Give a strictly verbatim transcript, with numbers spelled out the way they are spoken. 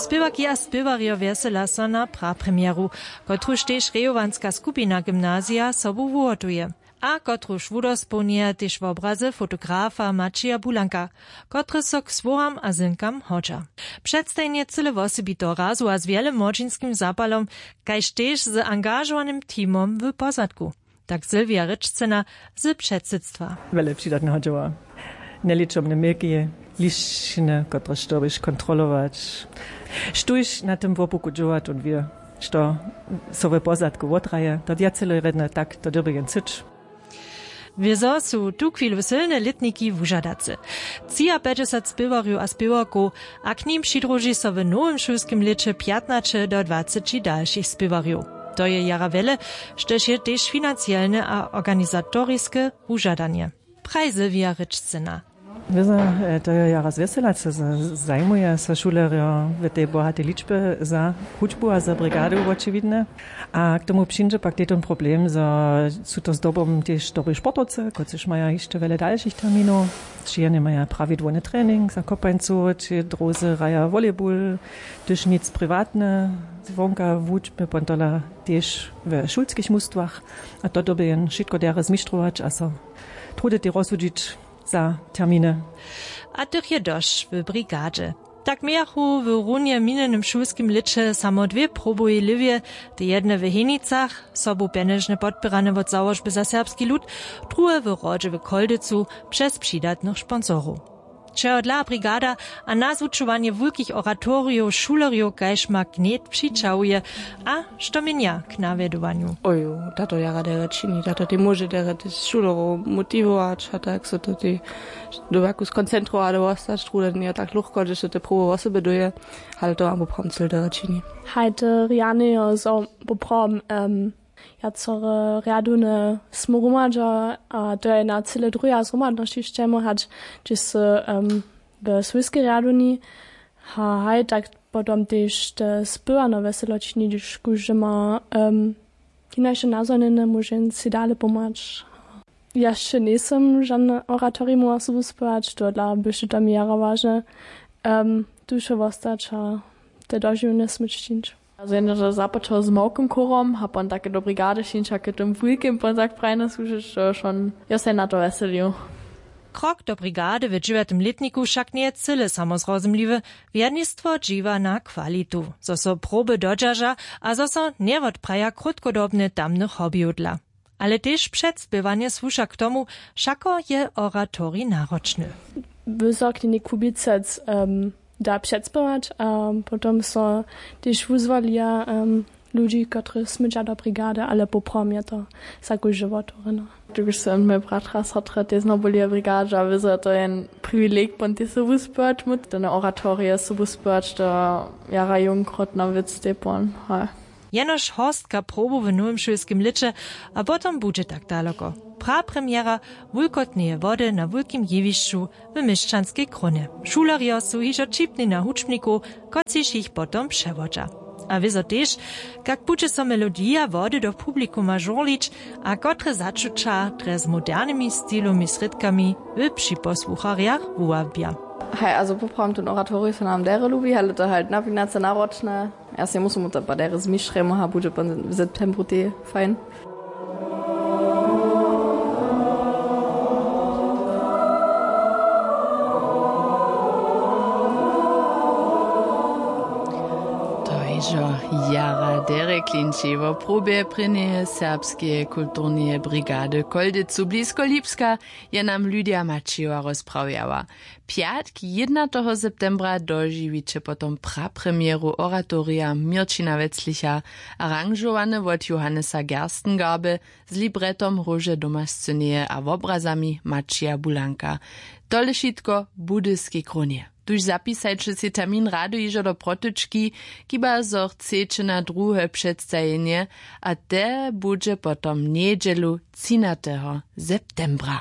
Spěwarki a spěwarjo wjesela so na prapremjeru, kotruž tež rejowanska skupina gymnazija sobu wuhotuje, a kotruž wudospołnjeja tež wobrazy fotografa Maćija Bulanka, kotryž so k słowam a zymkam hodźa. Předstajenje cyle wosebiteho razu a z wjele młodźinskim zapalom, kaž tež z angažowanym teamom w pozadku, tak Sylwija Rěčcyna z předsydstwa. Wjele přidatneho dźěła. Njeličomne měki, lišćiny, kotrež dyrbiš kontrolować, štóž na tym wopuku dźěła, tón wě, što so w pozadku wotraje, to wjace lódne, tak to dyrbi jen syć. Wězo su tuchwilu sylne lětniki wužadace. Třiapjećdźesat spěwarjow a spěwarkow, a k nim přidruži so w nowym šulskim lěće pjatnaće do dwaceći dalšich spěwarjow. To je jara wjele, štož je tež financielne a organizatoriske wužadanje, praji Sylwija Rěčcyna. Wězo, to je jara zwjesela, co zajmuje so šulerjo w tej bohatej ličbje za hudźbu a za brigadu wočiwidne. A k tomu přińdźe pak tež ten problem, zo su to zdobom tež dobri sportowcy, kotřiž maja hišće wjele dalšich terminow, či jene maja prawidłowny trening za kopańcu, či drózy hraja volejbul, hdyž nic priwatne, zwonka wučbje pontala tež w šulskich mustwach. A to dyrbi jen wšitko derje zmištrować a so truditi rozsudźić za terminy. A tych je dosć w brigadźe. Tak mějachu w runje w minjenym šulskim lěće samo dwě probowe lěwje, te jedne w Henicach, sobu pjenježnje podpěrane wot Załožby za serbski lud, druhe w Hrodźe w Choldźecu přez přidatnych sponsorow. Čehodla brigada a nazwučowanje wulkich oratorijow šulerjow kaž magnet přićahuje a što měnja k nawjedowanju? Ojo, tato jara derje čini, tato tej móže derje tež šulerow motiwować a tak so to tej do wjaku skoncentrować a wostać, trudanje je tak luchko, hdyž so te probowe wosebje dóje, ale to mam poprawom cyle derje čini. Hajde rjanejo zo poprawom, wjacore rjadowne smy hromadźa a to je na cyle druha zhromadnosći sćemo hać, hdźež sy w swójskej rjadowni. A haj tak potom tež te spěwano wjeselo čini, hdyž kóždy ma hinaše nazhonjene, móže jen sej dale pomhać. Ja sće njejsym žane oratorium móhła sobu spěwać, tohodla byše to mi jara wažne, tu wšo wostać a te dožiwjenje smyć čińć. Započał z małkim chórom a pon take do brigady šińć a k tym wulkim pon tak prajnje słužyć, to šon jo sej na to wjeselił. Krok do brigady w dźewjatym lětniku wšak njeje cyle, samo zrozumliwy. Wjednistwo dźiwa na kwalitu, zo so proby dodźerža a zo so njewotpraja krótkodobnje tamnych hobbyjow dla. Ale tež předspěwanje słuša k tomu, wšako je oratorij naročny. Wysokni kubicec da předspěwać a potom so tež wuzwolija ludźi, kotrychž smyća do brigady, ale poprawom je to za kóždy wotewrjeno. Hdyž su mój bratra, sotra tež znowu byli w brigadźe a wězo to je jen priwileg pon tež sobu spěwać, móc tone oratorije sobu spěwać, to jara jónkrotna wěc, te pon. Jenož horstka probow w nowym šulskim lěće a potom budźe tak daloko. Prapremjera wulkotneje wody na wulkim jewišću w měšćanskej krónje. Šulerjo su hižo ćipni na hudźbnikow, kotřiž jich potom přewodźa. A wězo tež, kak budźe so melodija wody do publikuma žurlić a kotre začuća drje z modernymi stilowymi srědkami w připosłucharjach wuwabja. Haj, a zo poprawom, ten oratorij so nam derje lubi, ale to halt napinace naročne. Ja sej musu mu to pa derje zmišremu a budźe pon w septembru tej fajn. To hižo jara derje klinči wo probje prěnjeje serbskeje kulturneje brigady w Choldźecu blisko Lipska je nam Lydia Maćijowa rozprawjała. Pjatk jědnateho septembra dožiwiće potom prapremjeru oratorija Měrćina Weclicha, aranžowane wot Johannesa Gerstengarby, z libretom Róže doma scyneje a wobrazami Maćija Bulanka. Tole wšitko w Budyskej krónje. Tuž zapisajće sej termin rady hižo do protyčki, kiba zo chceće na druhe předstajenje, a te budźe potom njedźelu třinateho septembra.